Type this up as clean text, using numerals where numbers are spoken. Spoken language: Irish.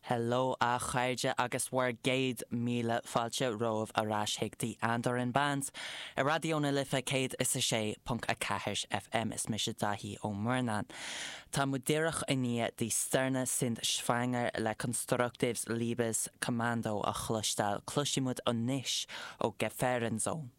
Hello a chairde agus bhur gcéad míle fáilte romhaibh ar ais chuig The Andoran Band ar Raidió na Life 106.4 FM. Is mise Daithí Ó Murnáin. Tá muid díreach i ndiaidh Die Sterne sind schwanger le Konstruktives Liebeskommando a chloisteáil. Cloisfidh muid anois ó Gefahrenzone.